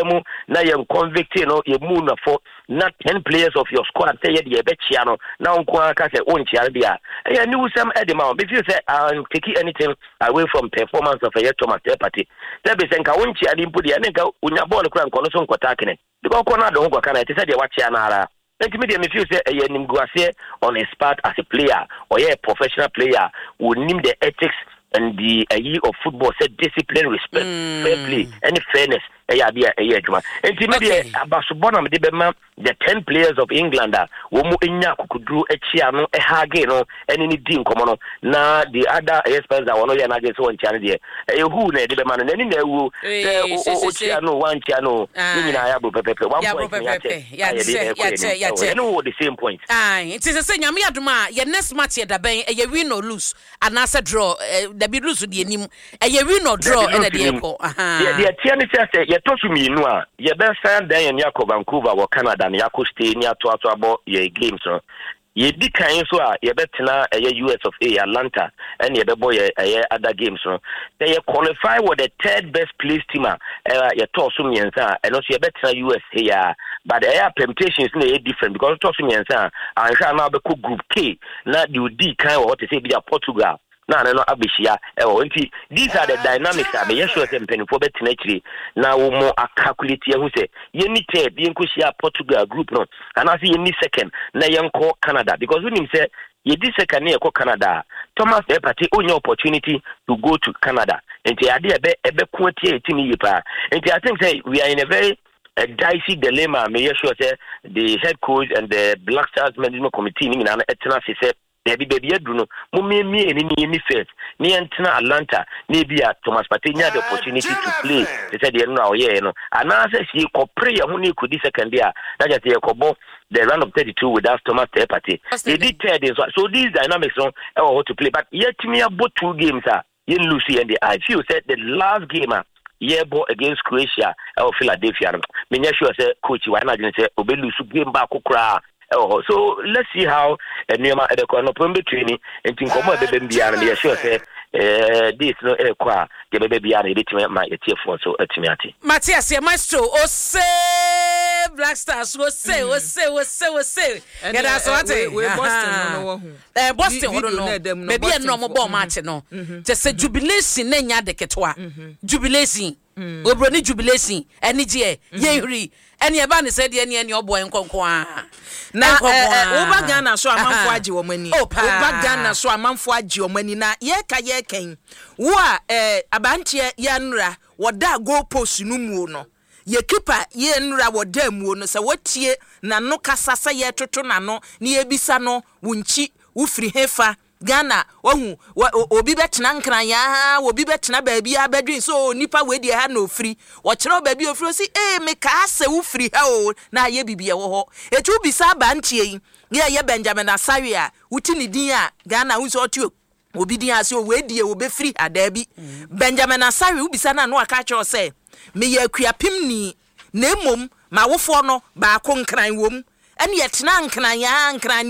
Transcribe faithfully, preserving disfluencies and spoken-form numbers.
mu na yɛn convict no, yɛ mu nafo na ten players of your squad sɛ yɛde yɛbɛkyia no na wo nko ara ka sɛ wonkyia no deɛ a, ɛyɛ aniwusɛm ɛde ma wo. Mefeel sɛ an take anything away from performance of ɛyɛ Thomas Partey, sɛ bi sɛ nka wonkyia no mpo deɛ, ɛne nka wonya bɔɔl kora nkɔ no so nkɔta akene because ɔkɔ no ade ho kɔka no, ɛte sɛ deɛ wakyia no ara. Nti mi deɛ, me feel sɛ ɛyɛ nimguaseɛ on his part as a player. Ɔyɛ a professional player, wɔnim the ethics and the ayi of football sɛ discipline, respect, mm. fair play ɛne fairness ɛyɛ adeɛ a ɛyɛ adwuma. Nti mi deɛ, abasobɔ na mede bɛma the ten players of England a wɔn mu nya akokoduro akyi ano ɛhug no ɛne ne di nkɔmɔ no. Na the other ɛyɛ Spurs a wɔn yɛ n'adwene sɛ wɔn nkyia no deɛ, ɛyɛ hu na yɛde bɛma no n'ani na ɛwuo sɛ ɔkyia no, wankyia no, ne nyinaa yɛ aburo pɛpɛpɛ, one point ne yɛakyɛ a yɛde ɛkɔ yɛn anim. Ɛne wɔ the same point. Nti sɛ sɛ Nyame adom a, yɛ next match yɛ dabɛn? Ɛyɛ win or lose anaasɛ draw? Dabi, lose deɛ nim, ɛyɛ win or draw ɛna deɛ ɛkɔ. Deɛ teɛ ne sɛ sɛ yɛtɔ so mmienu a, yɛbɛsan dan yɛn akɔ Vancouver wɔ Canada na yɛakɔ stay ne atoato abɔ yɛ games no. Yɛdi kan nso a, yɛbɛtena ɛyɛ U S of A, Atlanta, ɛne yɛbɛbɔ yɛ ɛyɛ other games no. Sɛ yɛ qualify wɔ the third best place team a ɛɛ yɛtɔɔ so mmiɛnsa a, ɛno nso yɛbɛtena U S a, but ɛyɛ permutations na ɛyɛ different because tɔɔ so mmiɛnsa a, anhwɛ a na wabɛkɔ Group K na deɛ odi kan wɔ hɔ te sɛ ebi a Portugal na ane no abɛhyia ɛwɔ. Nti these are the dynamics a meyɛ sure sɛ mpanimfoɔ bɛtena akyire na wɔn mo acalculate ahu sɛ yɛni third, yɛnkɔhyia Portugal group no, anaasɛ yɛni second na yɛnkɔ Canada, because wonim sɛ yɛdi second ne yɛkɔ Canada a, Thomas Partey ɔnya opportunity to go to Canada. Nti ade ɛbɛ ɛbɛko atia yɛ team yie paa. Nti I think sɛ we are in a very a dicey dilemma. Meyɛ sure sɛ the head coach and the Black Stars management committee ne nyinaa no ɛtena ase sɛ baabi baabi aduru no, momiemie ne ne yɛni first ne yɛntena Atlanta na ebi a Thomas Partey nya the opportunity to play te sɛ deɛ no a ɔyɛɛ no, anaasɛ sie kɔpere yɛn ho ne yɛkɔdi second a, na kyerɛ sɛ yɛkɔbɔ the round of thirty-two without Thomas Partey. Yɛdi third nso. So these dynamics no ɛwɔ hɔ to play, but yɛtumi abɔ two games a yɛn lose yɛn de, I feel sɛ the last game a yɛbɔ against Croatia ɛwɔ Philadelphia no, menyɛ sure sɛ coach wa ɛna adwene sɛ ɔbɛ lose game baako koraa ɛwɔ hɔ. So let's see how nneɛma ɛbɛkɔ no pɔn bɛtue ni. Nti nkɔmɔ a ɛbɛbɛm biara no, meyɛ sure sɛ ɛɛ days no ɛrekɔ a, deɛ ɛbɛbɛ biara no, yɛbɛtumi ma yɛtiefoɔ nso atumi ate. Mate aseɛ, maestro. Ose Black Stars, ose ose ose ose, yɛda so ate. Ɛɛ Boston hɔ no, baabi a ɛnna ɔmo bɔɔ match no, kyɛ sɛ jubilation na nya de ketewa jubilation, oburoni jubilation, anigyeɛ yɛn huri ɛne ɛba ne sɛ deɛ ɛne ɛne ɔboɔ nkɔnkɔn a. Na woba Ghana so, amanfo agye wɔn ani. Oh, paa. Woba Ghana so, amanfo agye wɔn ani na yɛka yɛkɛn wo a ɛɛ abanteɛ yɛnra wɔda goal post no muo no, yɛ keeper yɛnra wɔda muo no sɛ wɔtie n'ano kasa sɛ yɛtoto n'ano na yɛbisa no, wo nkyi wofiri hefa? Ghana wahu obi bɛtena Nkran yaa, obi bɛtena baabi a bɛdwen sɛ o nipa wei deɛ ha na ofiri. Wɔkyerɛ baabi ofiri, osi ee mekaa sɛ wofiri ha o, na ayɛ bibi ɛwɔ hɔ. Etu bisa abanteɛ yi yɛ yɛ Benjamin Asare a woti ne din a, Ghana wo sɛ ɔte obi din ase o, wei deɛ obɛfiri ha daabi. Benjamin Asare, wobisa no a, na waka kyerɛ sɛ meyɛ Akuapem ni, na emom ma awofoɔ no baako Nkran wom, ɛne yɛtena Nkran yaa Nkran.